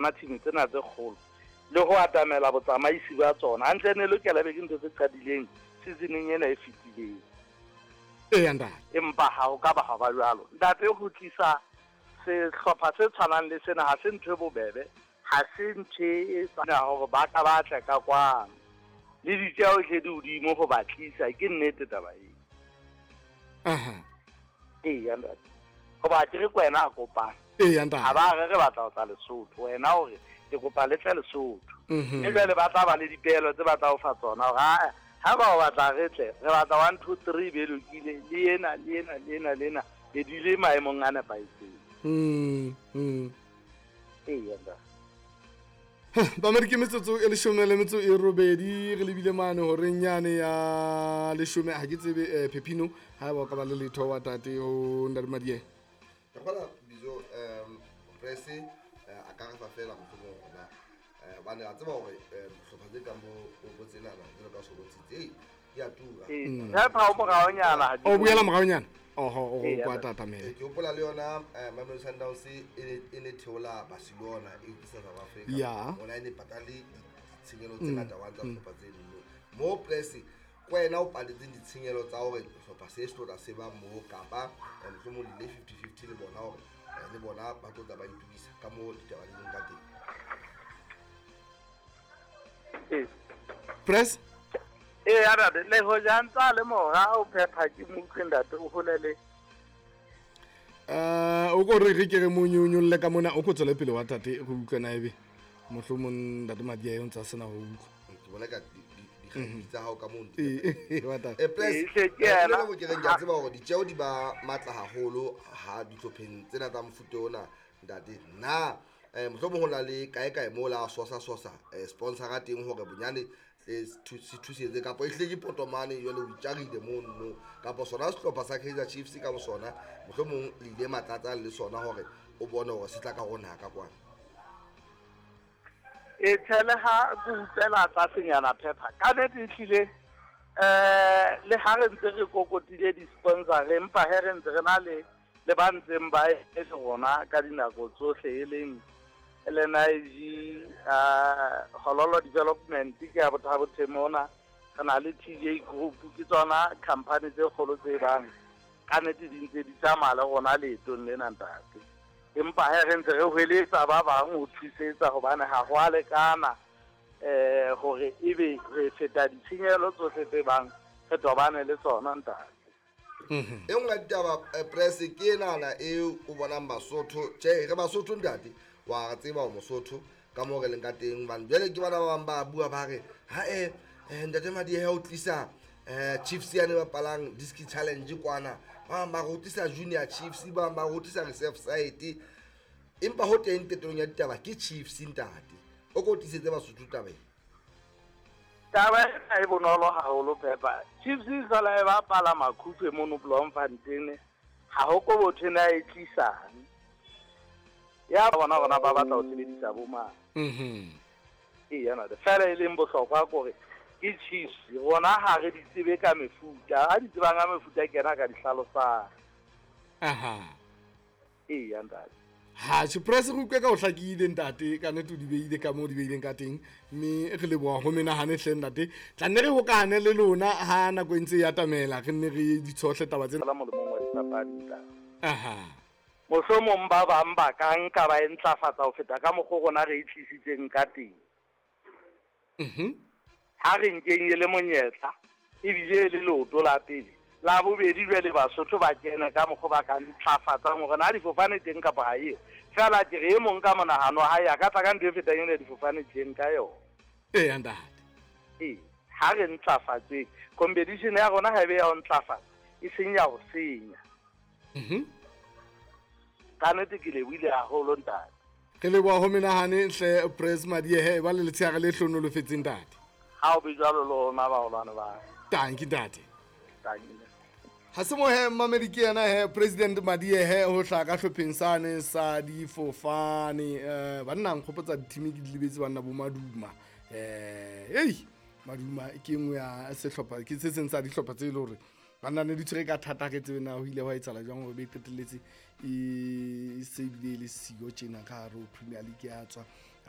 Tsona team tsena tse kgolo le ho atamela botsamaisi ba tsona hantle ne lokela be ke ntho tse qadileng seasoneng ena e fetileng. Eya ntate. Empa ha ho ka ba ha ba jwalo. Ntate, ho tlisa sehlopha se tshwanang le sena ha se ntho e bobebe, ha se ntho e tsamaya hore ba ka ba tle ka kwano. Le ditjeho hle di hodimo ho ba tlisa, ke nnete taba eo. Aha. Eya ntate. Hoba ke re ke wena a kopang. Eya ntate. Ha ba re re batla ho tla Lesotho, wena o re ke kopa le tle Lesotho. Mme jwale ba tla ba le dipeelo tse ba tla o fa tsona hore aa ha ba o batla re tle, re batla 1 2 3 be lokile, le ena le ena le ena le ena be di le maemong a nepahetseng. Eya ntate. Bamedi ke metsotso e leshome le metso e robedi re lebile mane horeng yane ya leshome ha ke tsebe Pepino ha eba o ka ba le letho wa tate ho ntate Madihe. Ke kgola bizo press a ka re fa fela mohlomong hore na hobane a tseba hore hlopha tse kang bo tsenana jwalo ka Sobotsitse ei di a tura. Tshepa o moraonyana ha di O boela moraonyana. Oho, o Ee, kwa ya tatamela. Ke hopola le yona Mamelodi Sundowns e ne theola Barcelona e tlisa South Africa. Ona e ne patale ditshenyehelo tse ngata wa tsa hlopha tse ding. Mo press ke wena o patetseng ditshenyehelo tsa hore sehlopha se se tlo tla se ba moo kapa mohlomong le ile 50-50 le bona hore le bona ba tlo tla ba itokisa ka moo ditaba di leng ka teng. Ee. Press? Ee, ya ntate, le hoja ntsa le mora o phepha ke mo utlwe ntate o hole le. O ko re re ke re mo nyonyolle ka mona, o ko tswele pele wa tate re utlwe na ebe mohlomong ntate Madihe o ntsa sena ho utlwa. Ke bona ka dikgadi tsa hao ka moo di Ee, wa tate. Plus, Ee, hle ke yena. le bo ke reng ke a tseba hore ditjeho di ba matla haholo ha dihlopheng tsena tsa mofuta ona ntate. Na mohlomong ho na le kae kae moo la sosa sosa sponsor-a teng hore bonyane se thusetse kapa e hle ke potomane jwale o itjarile mono kapa sona sehlopha sa Kaizer Chiefs ka bosona mohlomong le ile matlatsang le sona hore o bone hore se tla ka rona ka kwana. E tjhe, le ha ke utlwela tlasenyana phepha ka nnete ehlile le ha re ntse re kokotile di-sponsor empa he re ntse re na le ba ntseng ba e le rona ka dinako tsohle e leng LNIG, Hololo Development ke ya Bothabo mona, re na le TJ Group, ke tsona company tse kgolo tse bang ka nnete di ntse di tsamaya le rona leetong lena ntate. Empa he re ntse re hweletsa ba bang ho thusetsa hobane ha ho a lekana hore ebe re feta ditshenyehelo tsohle tse bang re tobane le tsona ntate. E nngwe ya ditaba press ke enana e o bonang Basotho, tjhe re Basotho ntate, wa tseba o Mosotho ka moo re leng ka teng hobane jwale ke bana ba bang ba bua ba re ha ntate Madihe o tlisa Chiefs yane bapalang Diski Challenge kwana, ba bang ba re o tlisa Junior Chiefs, ba bang ba re o tlisa Reserve Side, empa ho teng tetong ya ditaba ke Chiefs ntate. O ko tlisetse Basotho taba ena. Taba ena e bonolo haholo Peppa. Chiefs e sala e bapala Makhutshwe mono Bloemfontein, ha ho ko botho na e tlisang. Ya bona rona ba batla ho sebedisa bo mang. Ee, yana fela e leng bohlokwa kore ke Chiefs rona ha re di tsebe ka mefuta, ha di tsebang ka mefuta ke yena ka di hlalosang. Aha. Ee, ya ntate. Ha tjhe, press re utlwe ka ho hlakile ntate, ka nnete o di beile ka moo di beileng ka teng, mme re leboha ho menahane hle ntate. Tla nne re hokahane le lona ha nako e ntse e atamela, re nne re di tshohle taba tsena. Fela molemong wa dipapadi ntate. Aha. Mohlomong ba bang ba ka nka ba e ntlafatsa ho feta ka mokgwa rona re e tlisitseng ka teng. Ha re nkeng e le monyetla, ebile e le leoto la pele. La bobedi jwale Basotho ba kene ka mokgwa ba ka ntlafatsang hore na difofane teng kapa ha eo. Fela ke re e mong ka monahano wa hae a ka tla ka ntho e fetang ena difofane teng ka yona. Ee, ntate. Ee, ha re ntlafatseng. Competition ya rona ha e be ya ho ntlafatsa, e seng ya ho senya. Ka nnete ke lebohile haholo ntate. Re leboha ho menahane hle Press Madihe, ba le letsheare le hlohonolofetseng ntate. Ha o be jwalo le rona baholwane ba. Tanki ntate. Tanki. Ha se mohe mmamedi ke yena he President Madihe ho hlaha ka hlopheng sane sa difofane. Banna nkgopotsa di-team ke di lebetse banna bo Maduma. Ei Maduma ke nngwe ya sehlopha, ke se seng sa dihlopha tse e leng hore banna ne di tshwere ka thata, ha ke tsebe na ho ile hwa etsahala jwang hore be qetelletse e se ebile e le siyo tjena ka hare ho Premier League ya tswa.